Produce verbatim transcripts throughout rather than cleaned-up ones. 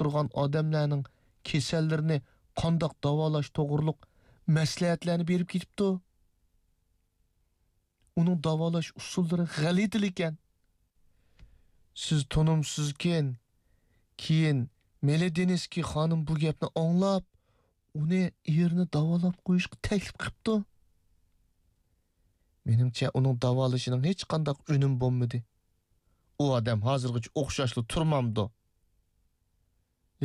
تۇرغان ئادەملەرنىڭ كېسەللىرىنى قانداق داۋالاش توغرۇلۇق مەسلىھەتلەرنى بېرىپ كېتىپتۇ. ئۇنىڭ داۋالاش ئۇسۇللىرى غەلىتىلىكەن. سىز تونۇمسىزكەن. كېيىن مېلېدىنسكىي خانىم بۇ گەپنى ئاڭلاپ، ئۇنى ئېرىنى داۋالاپ قويۇشقا تەكلىپ قىپتۇ. مېنىڭچە، ئۇنىڭ داۋالىشىنىڭ ھېچقانداق ئۈنۈمى بولمىدى. ئۇ ئادەم ھازىرغىچە ئوخشاشلا تۇرمامدۇ؟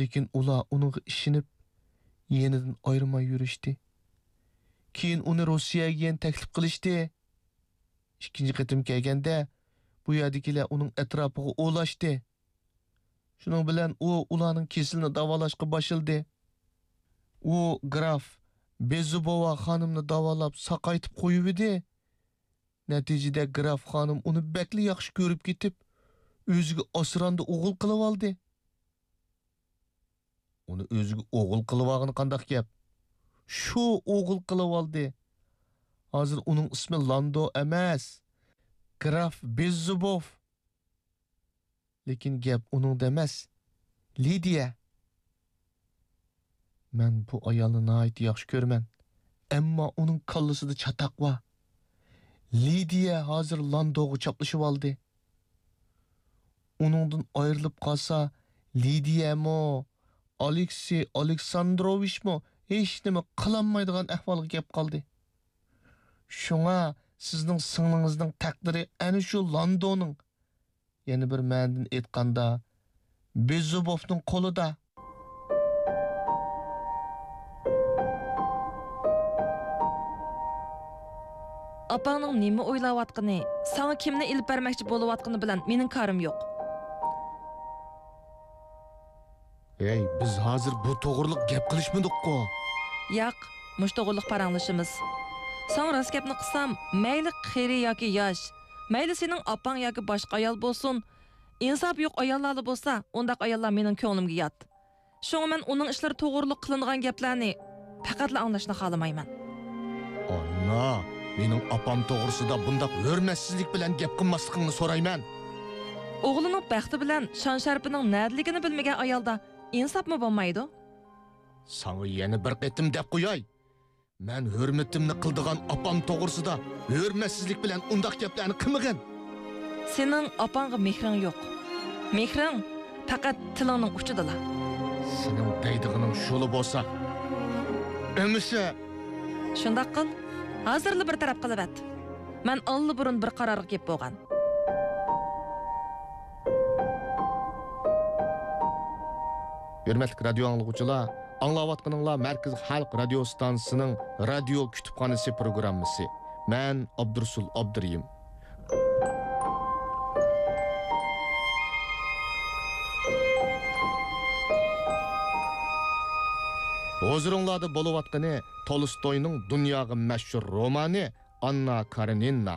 لېكىن ئۇلار ئۇنىڭغا ئىشىنىپ، يېنىدىن ئايرىماي يۈرۈشتى. كېيىن ئۇنى روسىيەگە يەنە تەكلىپ قىلىشتى. ئىككىنچى قېتىم كەلگەندە، بۇ يەردىكىلەر ئۇنىڭ ئەتراپىغا ئولاشتى. شۇنىڭ بىلەن ئۇ ئۇلارنىڭ كېسىلىنى داۋالاشقا باشلىدى. ئۇ گراف بېزۇبوۋا خانىمنى داۋالاپ ساقايتىپ قويۇۋىدى. نەتىجىدە گراف خانىم ئۇنى بەكلا ياخشى كۆرۈپ كېتىپ، ئۆزىگە ئاسراندا ئوغۇل قىلىۋالدى. ئۇنى ئۆزىگە ئوغۇل قىلىۋالغىنى قانداق گەپ؟ شۇ ئوغۇل قىلىۋالدى. ھازىر ئۇنىڭ ئىسمى لاندو ئەمەس، گراف بېززۇبوف. لېكىن گەپ ئۇنىڭدا ئەمەس، لىدىيە. مەن بۇ ئايالنى ناھايىتى ياخشى كۆرىمەن، ئەمما ئۇنىڭ كاللىسىدا چاتاق بار. لىدىيە ھازىر لاندوغا چاپلىشىۋالدى. ئۇنىڭدىن ئايرىلىپ قالسا، لىدىيەمۇ، ئالېكسېي ئالېكساندروۋىچمۇ ھېچنېمە قىلالمايدىغان ئەھۋالغا كەپ قالدى. شۇڭا سىزنىڭ سىڭلىڭىزنىڭ تەقدىرى ئەنە شۇ لاندونىڭ، يەنە بىر مەنىدىن ئېيتقاندا، بېززۇبوفنىڭ قولىدا. ئاپاڭنىڭ نېمە ئويلاۋاتقىنى، ساڭا كىمنى ئېلىپ بەرمەكچى بولۇۋاتقىنى بىلەن مېنىڭ كارىم يوق. ھەي، بىز ھازىر بۇ توغرىلىق گەپ قىلىشمىدۇققۇ؟ ياق، مۇشۇ توغرىلىق پاراڭلىشىمىز. ساڭا راست گەپنى قىلسام، مەيلى قېرى ياكى ياش، مەيلى سېنىڭ ئاپاڭ ياكى باشقا ئايال بولسۇن، ئىنساپى يوق ئاياللارلا بولسا، ئۇنداق ئاياللار مېنىڭ كۆڭلۈمگە يات. شۇڭا مەن ئۇنىڭ ئىشلىرى توغرۇلۇق قىلىنغان گەپلەرنى پەقەتلا ئاڭلاشنى خالىمايمەن. ئانا، مېنىڭ ئاپام توغرىسىدا بۇنداق ھۆرمەتسىزلىك بىلەن گەپ قىلماسلىقىڭنى سورايمەن. ئوغلىنىڭ بەختى بىلەن شان-شەرىپىنىڭ نەدىلىكىنى بىلمىگەن ئايالدا ئىنساپمۇ بولمايدۇ. ساڭا يەنە بىر قېتىم دەپ قوياي. مەن ھۆرمىتىمنى قىلىدىغان ئاپام توغرىسىدا ھۆرمەتسىزلىك بىلەن ئۇنداق گەپلەرنى قىلمىغىن. سېنىڭ ئاپاڭغا مېھرىڭ يوق. مېھرىڭ پەقەت تىلىڭنىڭ ئۇچىدىلا. سېنىڭ دەيدىغىنىڭ شۇلا بولسا، ئەمىسە. شۇنداق قىل، ھازىرلا بىر تەرەپ قىلىۋەت. مەن ئاللىبۇرۇن بىر قارارغا كېلىپ بولغان. ھۆرمەتلىك رادىيو ئاڭلىغۇچىلار، ئاڭلاۋاتقىنىڭلار مەركىزىي خەلق رادىيو ستانسىسىنىڭ رادىيو كۇتۇپخانىسى پروگراممىسى. مەن ئابدۇرۇسۇل ئابدۇرېھىم. ھۇزۇرۇڭلاردا بولۇۋاتقىنى تولستوينىڭ دۇنياغا مەشھۇر رومانى ئاننا كارېنىنا.